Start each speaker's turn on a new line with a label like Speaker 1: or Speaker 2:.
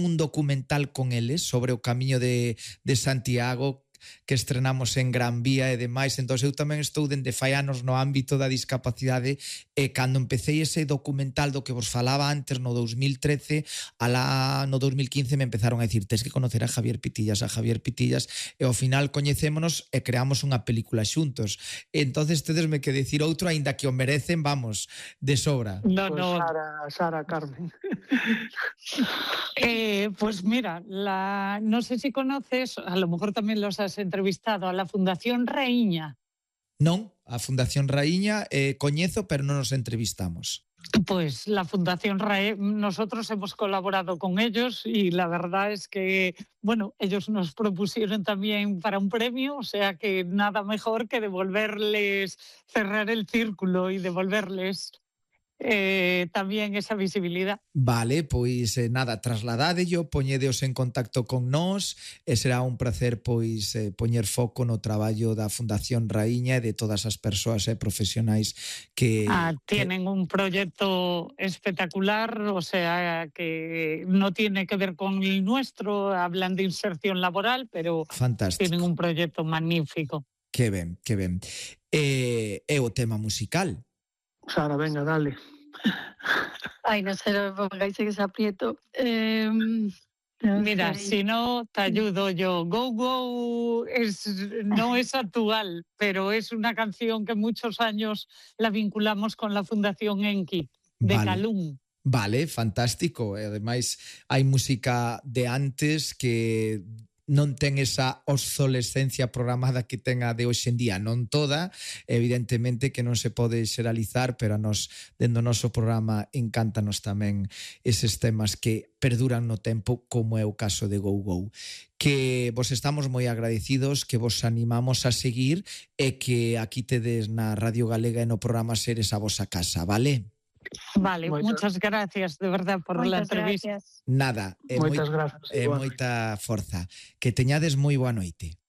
Speaker 1: un documental con eles sobre o camiño de Santiago que estrenamos en Gran Vía e demais. Entón eu tamén estou dende fai anos no ámbito da discapacidade e cando empecé ese documental do que vos falaba antes no 2013, alá no 2015 me empezaron a dicir tes que conocer a Javier Pitillas e ao final coñecémonos e creamos unha película xuntos. Entonces tedesme que decir outro, aínda que o merecen, vamos, de sobra.
Speaker 2: No,
Speaker 3: Pues
Speaker 2: no.
Speaker 3: Sara, Carmen.
Speaker 2: Pues mira, no sé si conoces, a lo mejor también los has entrevistado, a la Fundación Raíña.
Speaker 1: Non, a Fundación Raíña coñezo, pero non nos entrevistamos.
Speaker 2: Pues la Fundación nosotros hemos colaborado con ellos y la verdad es que, bueno, ellos nos propusieron también para un premio, o sea que nada mejor que devolverles, cerrar el círculo y devolverles también esa visibilidad.
Speaker 1: Vale, pois nada, trasladádello, poñedeos en contacto con nós e será un placer pois poñer foco no traballo da Fundación Raíña e de todas as persoas profesionais que...
Speaker 2: tienen un proyecto espectacular, o sea que no tiene que ver con el nuestro, hablan de inserción laboral, pero
Speaker 1: fantástico.
Speaker 2: Tienen un proyecto magnífico.
Speaker 1: Que ben, que ben. E o tema musical?
Speaker 3: Sara, venga, dale.
Speaker 4: Ay, no sé, no me pongáis en ese aprieto.
Speaker 2: Mira, si no, te ayudo yo. Go Go no es actual, pero es una canción que muchos años la vinculamos con la Fundación Enki, de Calum.
Speaker 1: Vale, fantástico. E ademais, hai música de antes que non ten esa obsolescencia programada que ten a de hoxe en día, non toda, evidentemente que non se pode xeralizar, pero a nos, dentro do noso programa, encántanos tamén eses temas que perduran no tempo, como é o caso de Go Go. Que vos estamos moi agradecidos, que vos animamos a seguir e que aquí tedes na Radio Galega e no programa Seres a vosa casa, vale?
Speaker 2: Vale, muchas gracias de verdad por la entrevista.
Speaker 4: Gracias.
Speaker 1: Nada,
Speaker 3: Moitas grazas.
Speaker 1: moita forza. Que teñades moi boa noite.